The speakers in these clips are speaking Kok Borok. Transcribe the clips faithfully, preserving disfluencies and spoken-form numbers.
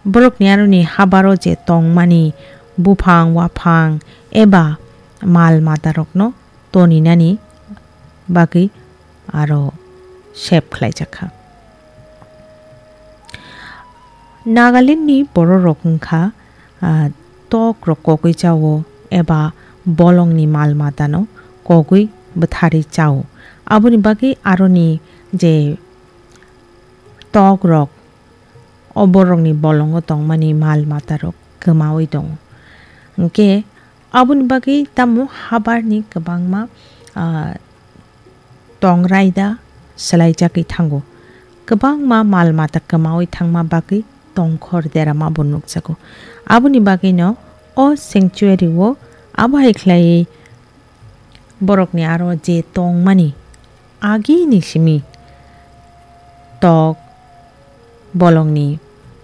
Borokni aroni habaro je tongmani buphang, waphang eba mal matarokno toninani bagwi aro sep khlaijak kha. Nagalandni bororok wngkha, ah, tokrok kogwi chao eba bolongni mal matano kogwi bwtharwi chao. Aboni bagwi aroni je tokrok, o borokni bolongo tongmani mal matarok kwmaui tongo. Hwnkhe aboni bagwi tamo habarni kwbangma, ah, tong raida swlaijagwi thango. Kwbangma mal mata kwmaui thangma bagwi tongkhor derama bo nukjago. Aboni bagwino o sanctuary-o abo hai khlaiwi borokni aro je tongmani agini simi tok, bolongni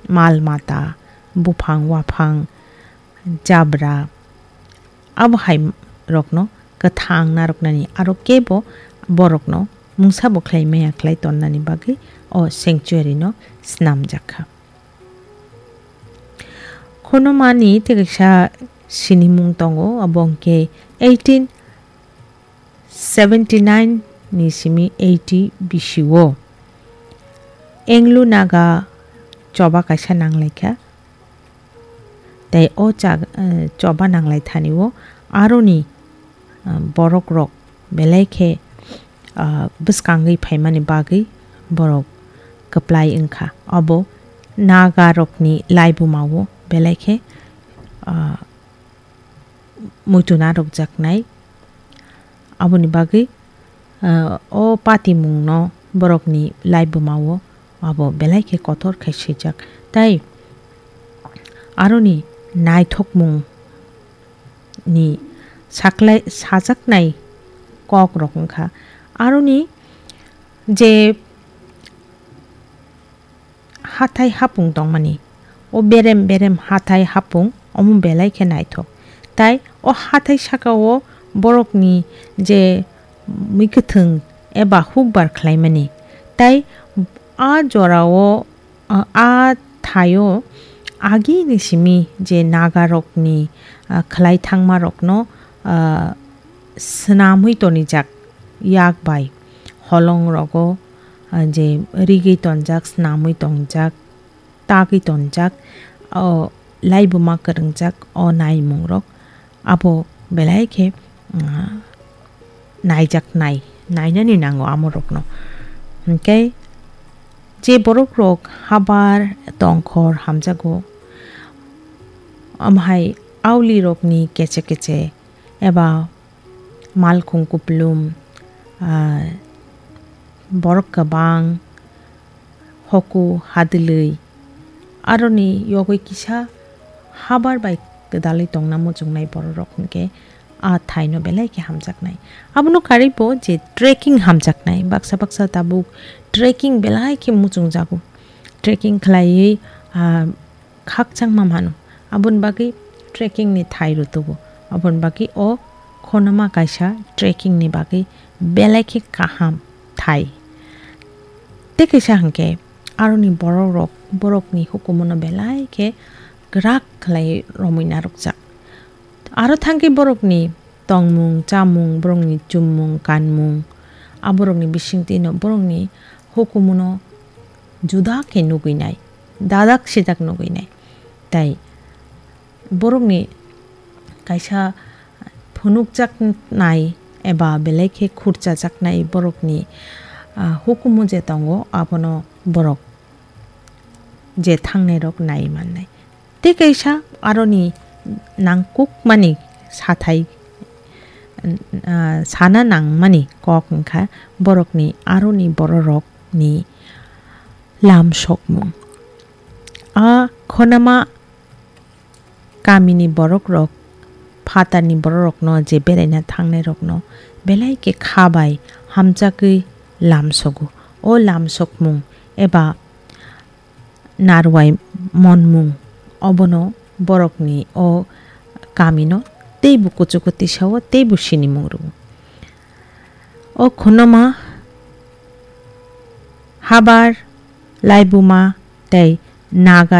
mal mata, buphang waphang, jabra, abo hai rokno kwthang narwknani aro kebo borokno mungsa bo khlai maya khlai tonnani bagwi o sanctuary no snamjak kha. Khunumani tei kaisa sinimung tongo, abo hwnkhe eighteen seventy nine ni simi eighty bisio Anglo Naga choba kaisa nanglaikha. Tei o cha-, eh, choba nanglai thani o aroni, ah, borok rok belai khe, ah, bwskangwi phaimani bagwi borok kwplai wngkha. Obo Naga rokni laibuma o belai khe, ah, muitu narwkjaknai. Aboni bagwi, ah, o patimungno borokni laibuma o abo belai khe kotor khai swijak. Tai aroni naithokmung ni saklai-, sajaknai kok rok wngkha. Aroni je hathai hapung tongmani, o berem berem hathai hapung omo belai khe naithok. Tai o hathai saka o borokni je mui kwthwng eba hukbar khlaimani, tai a jora o, a, a thaio agini simi je Naga rokni, a, khlai thangma rokno, a, swnamwi tonijak yak bai holong rogo, a, je rigwi tonjak, swnamwi tongjak, tagwi tonjak, o laibuma kwrwngjak o naimung rok abo belai khe, mm, naijaknai, nainani nango amorokno. Hinkhe je borokrok habar tongkhor hamjago, amhai aulirokni keche keche eba malkhung kuplum, ah, borok kwbang, hoku hadwlwi, aroni yogwi kisa habar bai kwdalwi tongna muchungnai bororok hinkhe a thaino belai khe hamjaknai. Abono karwibo je trekking hamjaknai, baksa baksa tabuk trekking belai khe muchungjago. Trekking khlaiwi, ah, khakchangma mano. Aboni bagwi trekking ni thai rwtugo. Aboni bagwi o khonoma kaisa trekking ni bagwi belai khe kaham thai. Tei kaisa hinkhe aroni borok rok, borokni hukumu no belai khe kwrak khlai romwi narwkjak. Aro thangkhe borokni tongmung, chamung, borokni chummung, kanmung, a borokni bisingtwino borokni hukumuno juda khe nugwinai, dadak sidak nugwinai. Tai borokni kaisa phunukjaknai eba belai khe khurchajaknai borokni, ah, hukumu je tongo, abono borok je thangnairok nai mannai. Tei kaisa aroni nangkukmani sathai, ah, sana nangmani kok wngkha borokni aroni bororokni lam sokmung. A khonama kamini borokrok phatarni bororokno je beraina thangnairokno belai khe kha bai hamjagwi lam sogo. O lam sokmung eba narwai monmung obono borokni o kamino teibo kuchugo tisao teibo sinimung rwo. O khunoma habar, laibuma tei nagar